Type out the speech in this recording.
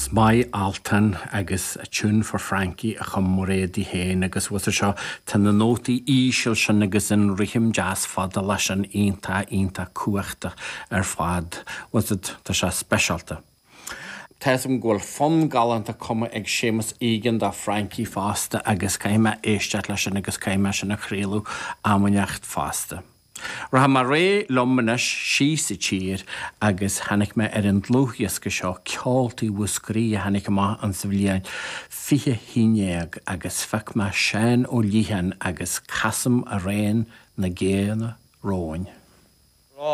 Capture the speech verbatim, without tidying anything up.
'S maith Altan agus A Tune for Frankie a chum Mairéad í féin agus bhfuil fhios seo tá na nótaí íseal sin agus an rithim deas fada leis an iontach iontach cumhachtach ar fad. Was it tá sé speisialta. Tá go bhfuil fonn galánta cumtha ag Séamus Egan do Frankie fosta agus caithfidh mé éisteacht leis sin agus caithfidh mé sin a chraoladh am inteacht fosta. Rachaidh mé réidh liom anois síos sa tír agus tháinig mé ar an dlúthdhiosca seo Ceoltaí Mhúscraí a tháinig amach an sa bhliain fiche haon déag agus phioc mé Seán Ó Liatháin agus Casaim Amhrán na gCéanna Romhainn.